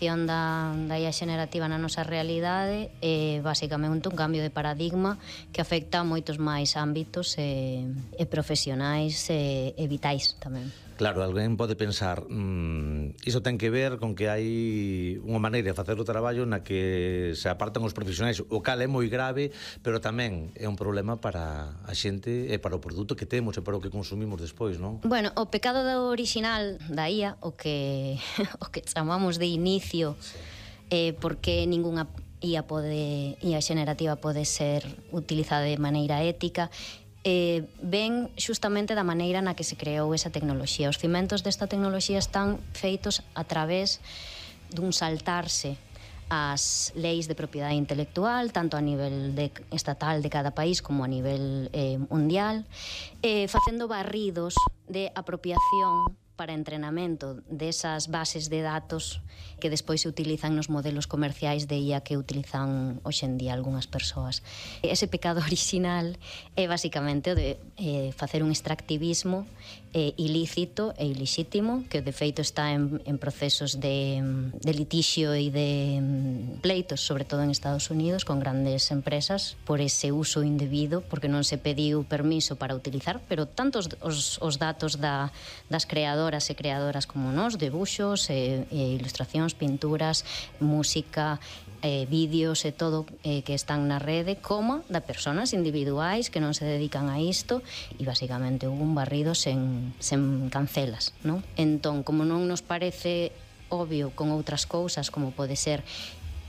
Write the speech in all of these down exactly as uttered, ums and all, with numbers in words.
incorporación da, da I A xenerativa na nosa realidade é basicamente un cambio de paradigma que afecta a moitos máis ámbitos e, e profesionais e, e vitais tamén. Claro, alguén pode pensar mmm, iso ten que ver con que hai unha maneira de facer o traballo na que se apartan os profesionais, o cal é moi grave, pero tamén é un problema para a xente e para o produto que temos e para o que consumimos despois, non? Bueno, o pecado do original da I A, o que o que chamamos de inicio, sí. eh, porque ningunha I A pode I A xenerativa pode ser utilizada de maneira ética, eh, ven xustamente da maneira na que se creou esa tecnoloxía. Os cimentos desta tecnoloxía están feitos a través dun saltarse as leis de propiedade intelectual, tanto a nivel de, estatal de cada país como a nivel eh, mundial, eh, facendo barridos de apropiación para entrenamento desas bases de datos que despois se utilizan nos modelos comerciais de I A que utilizan hoxe en día algunhas persoas. Ese pecado original é basicamente o de eh, facer un extractivismo eh, ilícito e ilixítimo, que de feito está en, en procesos de, de litixio e de pleitos, sobre todo en Estados Unidos, con grandes empresas, por ese uso indebido, porque non se pediu permiso para utilizar, pero tanto os, os, os datos da, das creadoras e creadoras como nós, debuxos e, e ilustracións, pinturas, música, eh, vídeos e todo eh, que están na rede, como da persoas individuais que non se dedican a isto, e basicamente hubo un barrido sen, sen cancelas, non? Entón, como non nos parece obvio con outras cousas, como pode ser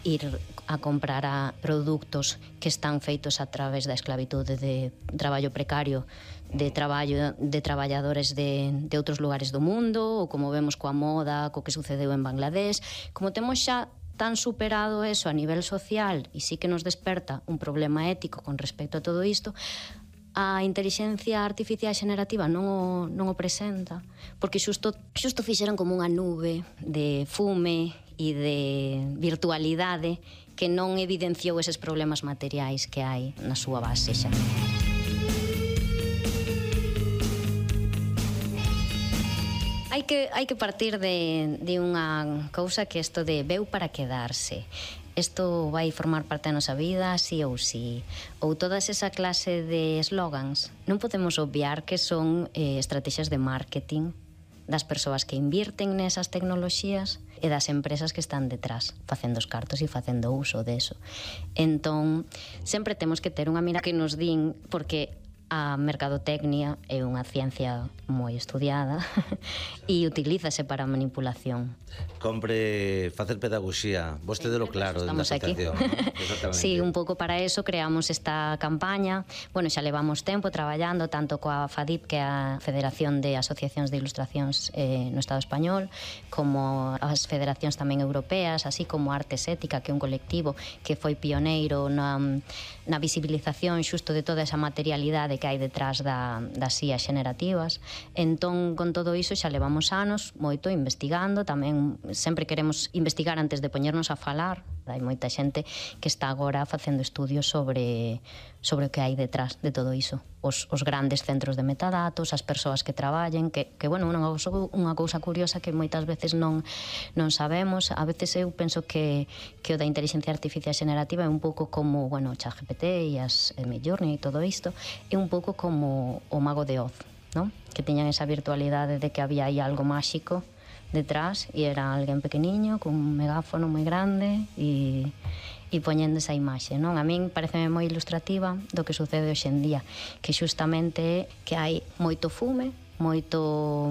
ir a comprar a produtos que están feitos a través da esclavitude de traballo precario, de traballo de traballadores de, de outros lugares do mundo, ou como vemos coa moda, co que sucedeu en Bangladesh. Como temos xa tan superado eso a nivel social e sí que nos desperta un problema ético con respecto a todo isto, a intelixencia artificial xenerativa non o, non o presenta, porque xusto, xusto fixeron como unha nube de fume e de virtualidade que non evidenciou eses problemas materiais que hai na súa base xa. Hai que, hai que partir de, de unha cousa que isto de veu para quedarse. Isto vai formar parte da nosa vida, sí ou sí. Ou todas esa clase de slogans. Non podemos obviar que son eh, estrategias de marketing das persoas que invirten nesas tecnoloxías e das empresas que están detrás, facendo os cartos e facendo uso deso. Entón, sempre temos que ter unha mira que nos din, porque a mercadotecnia é unha ciencia moi estudiada e utilízase para a manipulación. Compre facer pedagogía, vostedelo claro, estamos aquí. Sí, un pouco para eso creamos esta campaña. Bueno, xa levamos tempo traballando tanto coa FADIP, que é a Federación de Asociacións de Ilustracións eh, no Estado Español, como as federacións tamén europeas, así como Artes Ética, que é un colectivo que foi pioneiro na, na visibilización xusto de toda esa materialidade que hai detrás da, das I A xenerativas. Entón, con todo iso xa levamos anos moito investigando, tamén sempre queremos investigar antes de poñernos a falar. Hai moita xente que está agora facendo estudios sobre, sobre o que hai detrás de todo iso. Os, os grandes centros de metadatos, as persoas que traballen, que, que bueno, unha cousa, unha cousa curiosa que moitas veces non, non sabemos. A veces eu penso que, que o da inteligencia artificial xenerativa é un pouco como, bueno, ChatGPT e as e Midjourney e todo isto, é un pouco como o Mago de Oz, non? Que teñan esa virtualidade de que había aí algo máxico detrás e era alguén pequeniño con un megáfono moi grande e, e poñendo esa imaxe, non? A min pareceme moi ilustrativa do que sucede hoxe en día, que xustamente é que hai moito fume, moito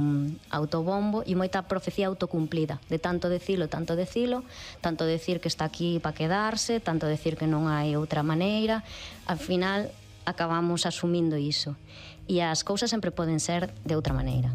autobombo e moita profecía autocumplida, de tanto decilo, tanto decilo, tanto decir que está aquí para quedarse, tanto decir que non hai outra maneira. Al final acabamos asumindo iso e as cousas sempre poden ser de outra maneira.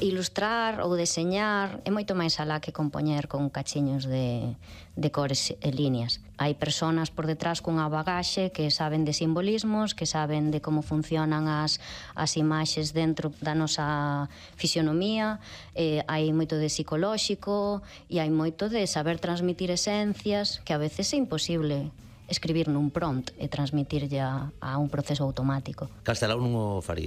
Ilustrar ou deseñar é moito máis alá que compoñer con cachiños de, de cores e líneas. Hai persoas por detrás cunha bagaxe que saben de simbolismos, que saben de como funcionan as, as imaxes dentro da nosa fisionomía, eh, hai moito de psicolóxico e hai moito de saber transmitir esencias que a veces é imposible escribir nun prompt e transmitir ya a un proceso automático. Castelao non o faría.